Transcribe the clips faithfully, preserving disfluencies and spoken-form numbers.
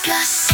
Plus.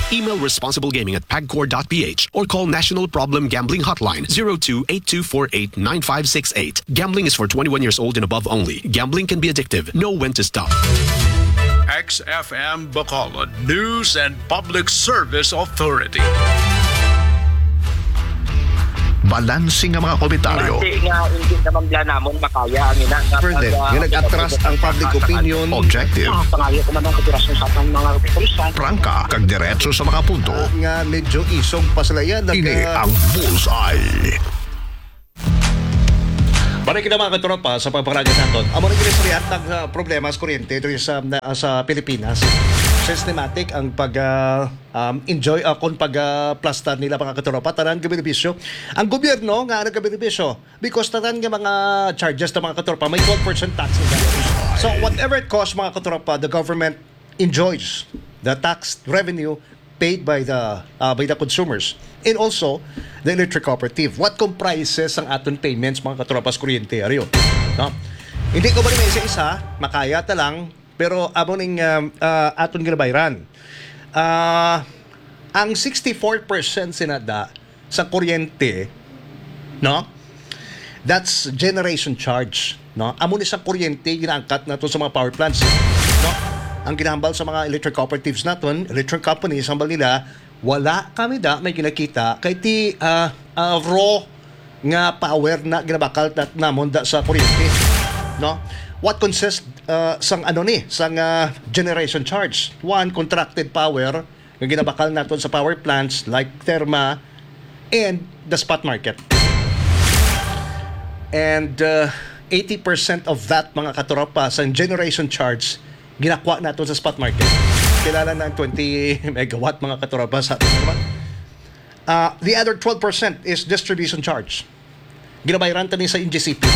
Email responsiblegaming at pagcor dot p h or call National Problem Gambling Hotline zero two eight two four eight nine five six eight. Gambling is for twenty-one years old and above only. Gambling can be addictive. Know when to stop. X F M Bacolod News and Public Service Authority. Balanse nga mga komentaryo. Base nga hindi naman bala namon makaya ang ina nga Further, pag, ah, nga nag-atras ang public opinion. Objective. Ah, pangayo ko man ang kooperasyon sa atong mga kapulisan. Prangka, kag diretso sa mga punto. Ah, nga medyo isog pa sila yan. Ini ang Bullseye. Balik kita, mga katropa, sa pagpangalaga naton. Amo na gini sa ang, ah, problema sa kuryente diri sa, na, sa Pilipinas. Systematic ang pag, ah, um, enjoy, ah, kung pag, ah, plastar nila, mga katropa, tanan gabenepisyo. Ang gobyerno nga nagabenepisyo because tanan nga mga charges ta, mga katropa, may twelve percent tax nila. So, whatever it costs, mga katropa, the government enjoys the tax revenue paid by the, ah, by the consumers and also the electric cooperative. What comprises ang aton payments, mga katropa, sa kuryente, ariyo? No? Hindi ko ba may isa-isa, makaya ta lang, pero amo ning, um, ah, aton ginabayran. Ah, ang sixty-four percent sinada sa kuryente, no? That's generation charge, no? Amo ni sa kuryente ginaangkat nato sa mga power plants, no? Ang ginahambal sa mga electric cooperatives naton, electric companies, hambal nila, wala kami da may ginakita kay ti, ah, ah, raw nga power na ginabakal nat-, namon da sa kuryente, no? What consists, ah, sang ano ni, sang, ah, generation charge? One, contracted power, nga ginabakal naton sa power plants like Therma and the spot market. And, uh, eighty percent of that, mga katropa, sa generation charge, ginakuha naton sa spot market. Kilala na ang twenty megawatt, mga katropa, sa aton naman. Uh, the other twelve percent is distribution charge. Ginabayaran ta ni sa N G C P.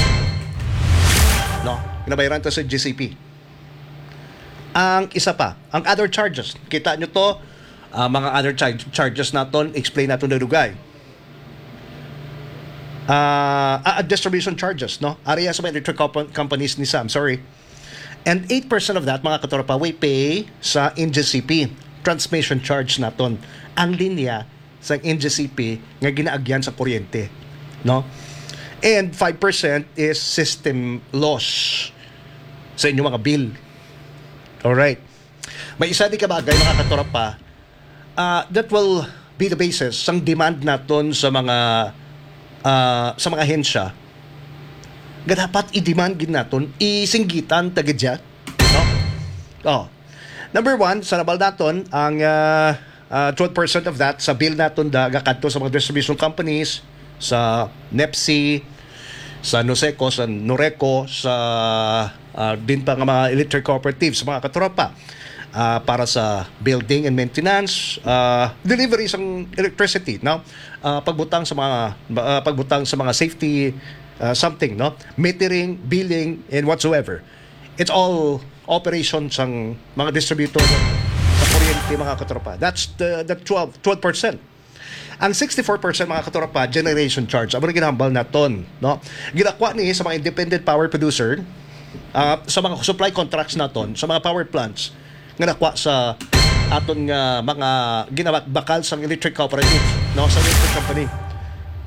No? Ginabayaran ta sa N G C P. Ang isa pa, ang other charges. Kita nyo to, ah, mga other charge, charges naton, explain naton na dugay. Ah, ah, distribution charges, no? Area sa mga electric compa-, companies ni Sam, sorry. And eight percent of that, mga katropa, we pay sa N G C P, transmission charge naton. Ang linya sa N G C P nga ginaagyan sa kuryente, no? And five percent is system loss sa inyong mga bill. Alright. May isa di ka bagay, mga katropa, ah, that will be the basis sang demand naton sa mga, ah, sa mga ahensya nga dapat i-demand gid naton, isinggitan ta gid siya, no? Oh. Number one, sa nabal naton, ang, ah, ah, twelve percent of that sa bill naton da gakadto sa mga distribution companies, sa nepsi, sa noseco, sa noreco, sa, ah, din pa nga mga electric cooperatives, mga katropa, ah, para sa building and maintenance, ah, delivery sang electricity, no? Ah, pagbutang sa mga, ah, pagbutang sa mga safety, ah, something, no? Metering, billing, and whatsoever. It's all operation sang mga distributor sa kuryente, mga katropa. That's the, the twelve, twelve percent. Ang sixty-four percent, mga katropa, generation charge. Amo na ginahambal naton, no? Ginakuha ni sa mga independent power producer, ah, sa mga supply contracts naton, sa mga power plants nga nakuha sa aton nga mga ginabakal sang electric cooperative, no, sa electric company.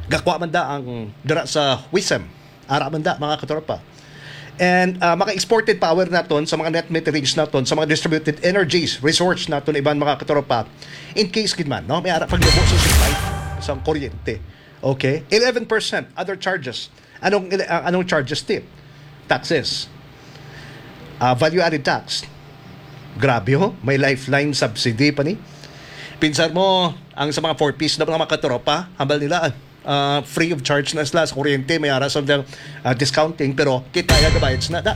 Gakuha man da ang dira sa WISM. Ara man da, mga katropa. And, ah, mga exported power naton sa mga net meterings naton, sa mga distributed energies, resource naton, iban, mga katropa. In case gid man, no, may ara paglubo sa supply sa kuryente. Okay? Eleven percent other charges. Anong ele-, ah, anong charges ti? Taxes. Ah, value added tax. Grabe, ho, may lifeline subsidy pa ni. Pinsar mo, ang sa mga four Ps na mga katropa, hambal nila, ah, free of charge na sila sa kuryente, may ara sa, ah, discounting, pero kita ya gabayad na da.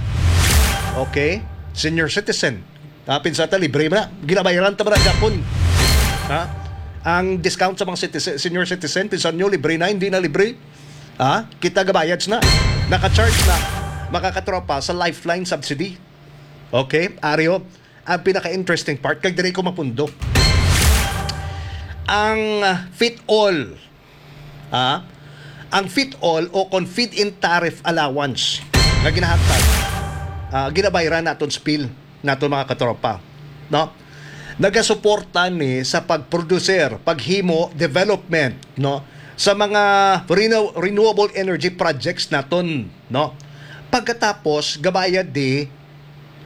Okay? Senior citizen. Ah, pinsar ta, libre man na. Ginabayaran ta man na gapon. Ha? Ang discount sa mga citizen, senior citizen, pinsar nyo, libre na, hindi na libre. Ha? Kita gabayad na. Naka-charge na, mga katropa, sa lifeline subsidy. Okay? Aryo, ang pinaka-interesting part, kag diri ko mapundo. Ang, ah, fit all, ah, ang fit all o kon feed-in tariff allowance nga ginahatag, ah, ginabayran naton sa bill naton, mga katropa, no? nagasuporta ni sa pag-producer, paghimo, development, no, sa mga renew-, renewable energy projects naton, no? Pagkatapos, gabayad di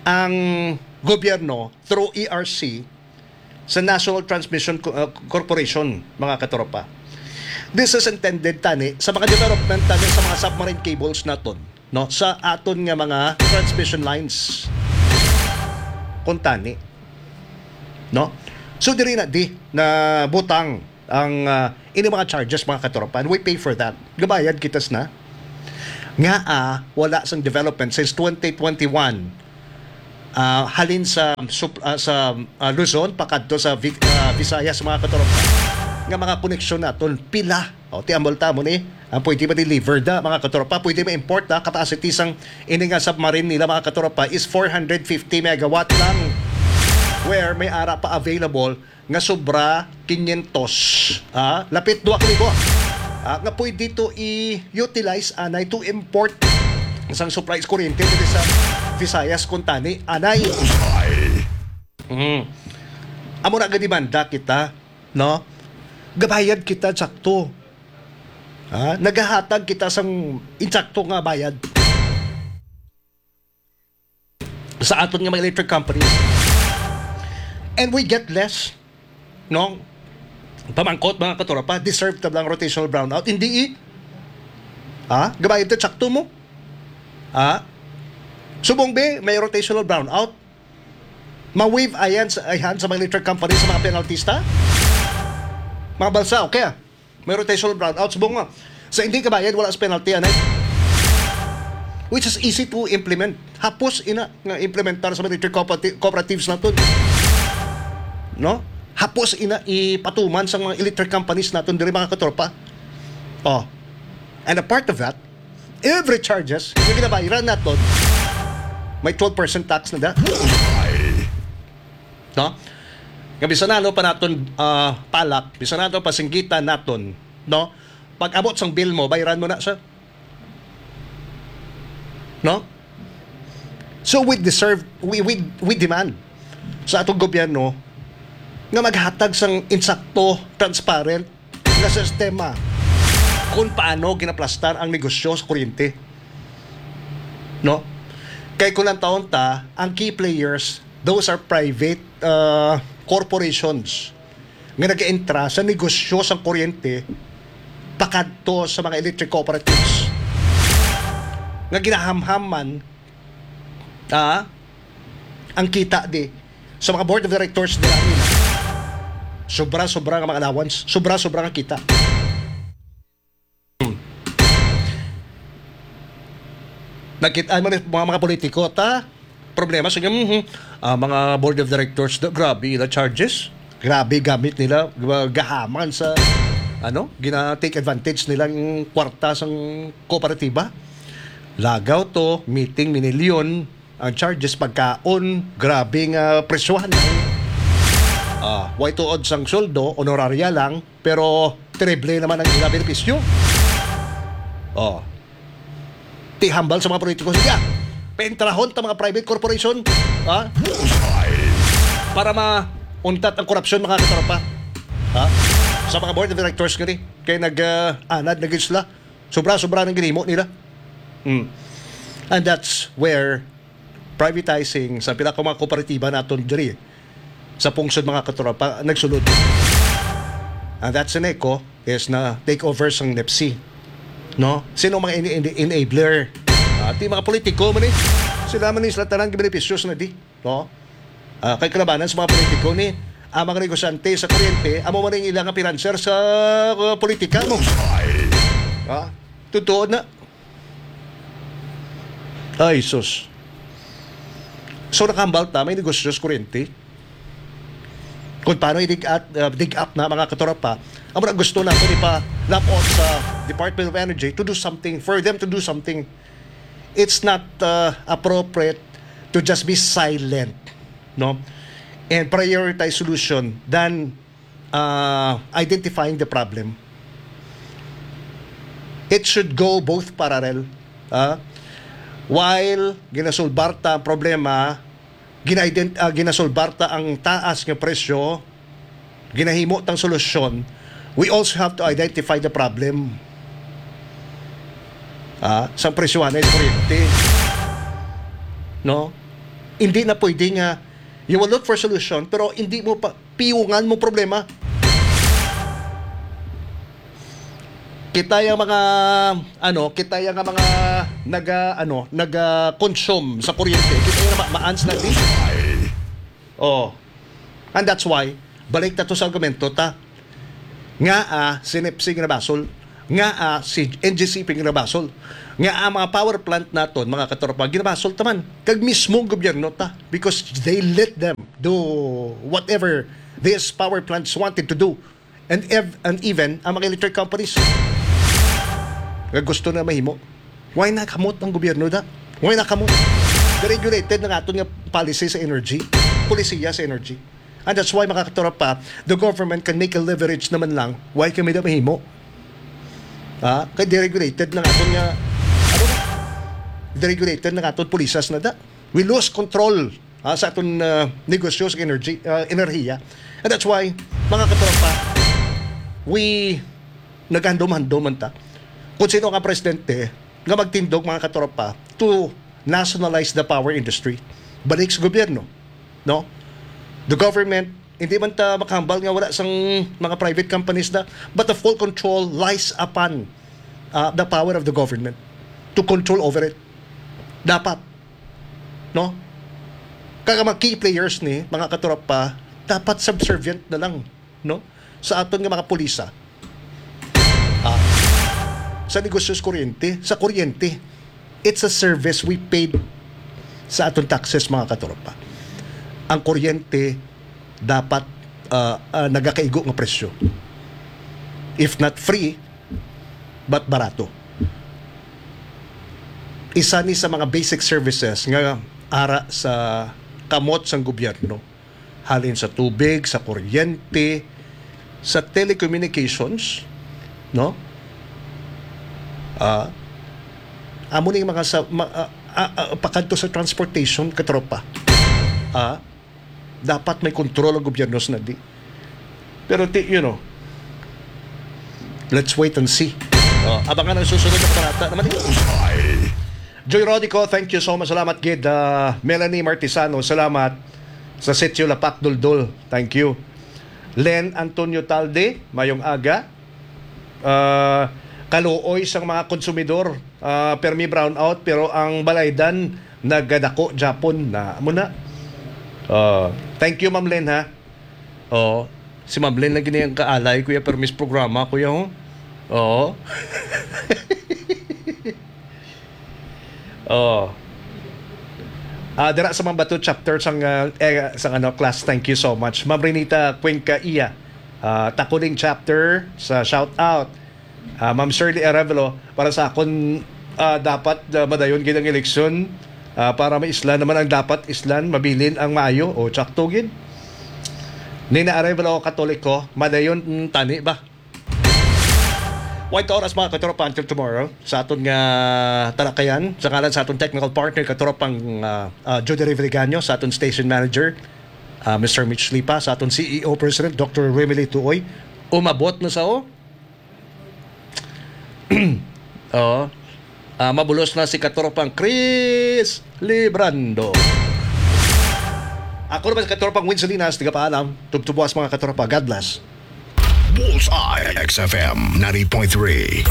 ang gobyerno through E R C sa National Transmission Co-, uh, Corporation, mga katropa. This is intended tani sa mga development tani sa mga submarine cables naton, no, sa aton nga mga transmission lines. Kung tani, no? So, diri na di na butang ang, ah, ini mga charges, mga katropa, and we pay for that. Gabayad kita sina. Nga, ah, wala sang development since twenty twenty-one, ah, halin sa sup-, ah, sa, ah, Luzon pakadto sa Vi-, ah, Visayas, mga katropa, nga mga koneksyon naton pila. O, ti ambol ta mo ni, ang pwede ma-deliver da, mga katropa, pwede ma-import da, capacity sang ini nga submarine nila, mga katropa, is four hundred fifty megawatt lang, where may ara pa available nga sobra quinientos, ah, lapit dua ka libo, ah, nga pwede to i-utilize anay to import sang supply sa kuryente diri sa Visayas, kung tani anay. Mm. Amo na, gademanda kita, no? Gabayad kita sakto. Ha? Nagahatag kita sang insakto nga bayad sa aton nga mga electric companies. And we get less, no? Pamangkot, mga katropa, deserve ta bang rotational brownout? Hindi, eh. Ha? Gabayad ta, sakto mo? Ha? Subong be, may rotational brownout. Ma-waive ayan sa, ayan sa mga electric company sa mga penalties ta? Mga balsa, okay, ah. May rotational brownout. Subong nga, sa hindi kabayad, wala sa penalty, anay. Which is easy to implement. Hapos ina nga implementar sa mga electric cooperati-, cooperatives naton. No? Hapos ina ipatuman sa mga electric companies naton diri, mga katropa. Oh. And a part of that, every charges nga ginabayaran naton, may twelve percent tax na da. No? Nga bisan ano pa naton, ah, palak, bisan ano pa singgitan naton, no? Pag abot sang bill mo, bayaran mo na, sir. No? So we deserve, we, we, we demand sa atong gobyerno nga maghatag sang insakto, transparent nga sistema kung paano ginaplastar ang negosyo sa kuryente. No? Kay kung ang taon ta, ang key players, those are private, uh, corporations nga nag-entra sa negosyo sang kuryente pakadto sa mga electric cooperatives nga ginahamham man, ah, ang kita di sa mga board of directors nila, nila. Sobra-sobra nga mga allowance, sobra-sobra nga kita. Nakit-an mo ni mga, mga politiko, ta? Problema sa, mhm, ah, mga board of directors, da, grabe ila charges. Grabe gamit nila, ga-, gahaman sa, ano, gina-take advantage nilang kwarta sang kooperatiba. Lagaw to, meeting, minilyon, ang charges, pagkaon, grabe nga presyohan. Ah, way tuod sang sweldo, honoraria lang, pero terrible naman ang ila benepisyo. Oh. Ti hambal sa mga politiko. Sige, ah. Paintrahon ta mga private corporation. Ha? Para mauntat ang korupsyon, mga katropa. Ha? Sa mga board of directors nga ni. Kay nag, ah, anad na gid sila. Sobra-sobra nang ginhimo nila. Hmm. And that's where privatizing sa pila ka mga kooperatiba naton diri sa pungsod, mga katropa, nagsulod. And that's an echo is na take over sang NEPC. No? Sino mga ini-, ini-, enabler? Ah, ti mga politiko man eh. Sila man ni sila tanan gibenepisyo sa nadi. No? Ah, kay kalabanan sa mga politiko ni ang mga negosyante sa kuryente, amo man ang ilang nga financier sa, uh, politika mo. Ah, totoo na. Ay, sus. So, nakahambal ta, may negosyo sa kuryente. Kung paano i-dig at, uh, dig up na, mga katropa, amo na gusto natin ipa-lapot sa Department of Energy to do something, for them to do something. It's not, uh, appropriate to just be silent, no? And prioritize solution than, uh, identifying the problem. It should go both parallel, ah. While ginasulbar ta ang problema, ginaident-, ah, ginasolbar ta ang taas nga presyo, ginahimo tang solusyon, we also have to identify the problem. Ah, sang presyohan sa kuryente. No? Hindi na pwede nga you will look for solution pero hindi mo pa piyungan mo problema. Kita yung mga ano, kita yung mga naga ano, naga consume sa kuryente. Kita yung ma maans na di. Oh. And that's why balik ta to sa argumento ta. Nga ah, si NEPC ginabasol, nga ah, si N G C P ginabasol, nga ang mga power plant naton, mga katropa, ginabasol taman kag mismo ang gobyerno ta because they let them do whatever these power plants wanted to do. And ev- and even ang mga electric companies nga gusto na mahimo. Why na kamot ang gobyerno da? Why na kamot? Deregulated na nga aton nga policy sa energy, polisiya sa energy. And that's why, mga katropa, the government can make a leverage naman lang. Why kami na mahimo? Ah, kay deregulated na nga aton nga ano? Deregulated na nga aton polisas na da. We lose control ah, sa aton ah, negosyo sa energy, ah, enerhiya. And that's why, mga katropa, we naghandom-handom man ta kung sino nga presidente nga magtindog, mga katropa, to nationalize the power industry. Balik sa gobyerno, no? The government, hindi man ta makahambal nga wala sang mga private companies na, but the full control lies upon ah, the power of the government to control over it. Dapat, no? Kag ang mga key players ni, mga katropa, dapat subservient na lang, no? Sa aton nga mga pulisa. Ah, sa negosyo sa kuryente, sa kuryente. It's a service we paid sa aton taxes, mga katropa. Ang kuryente dapat ah, ah, nagakaigo nga presyo. If not free, but barato. Isa ni sa mga basic services nga ara sa kamot sang gobyerno, halin sa tubig, sa kuryente, sa telecommunications, no? Ah, amo ning mga sa ma, ah, ah, ah, pakadto sa transportation, katropa. Ah, dapat may kontrol ang gobyerno sa nagdi. Pero ti, you know, let's wait and see. Oh, abangan ang susunod na kabanata naman. Bullseye. Joy Rodico, thank you so much. Salamat gid. Ah, Melanie Martisano, salamat. Sa Sitio Lapak, Duldul, thank you. Len Antonio Talde, mayong aga. Ah, kaluoy sang mga konsumidor, ah, permi brownout, pero ang balaydan nagadako gyapon na. Amo na. Ah, thank you, Ma'am Len, ha. Oh, si Ma'am Len lang gini ang kaalay, kuya, permis programa, kuya, ho. Oo. Oh. Ah, dira sa Mambato chapter sang, ah, eh, sang ano, class, thank you so much. Ma'am Renita Cuenca Iya, ah, Takuling chapter sa shout out. Ah, Ma'am Shirley Arevalo, para sa akon, ah, dapat, ah, madayon gid ang eleksyon, ah, para maislan naman ang dapat islan, mabilin ang maayo. O, tsakto gid. Nina Arevalo, Katoliko, madayon, mm, tani ba? Wait ka oras, mga katropa, until tomorrow. Sa aton nga talakayan, sa ngalan sa aton technical partner, katropang, ah, ah, Judy Reviligaño, sa aton station manager, ah, Mister Mitch Lipa, sa aton C E O President, Doctor Remily Tuoy, umabot na sa, oh. Oh. Ah, mabulos na si katropang Chris Librando. Ako naman si katropang Win Salinas, tigapaalam. Tubtubuas, mga katropa. God bless. Bullseye, X F M ninety point three.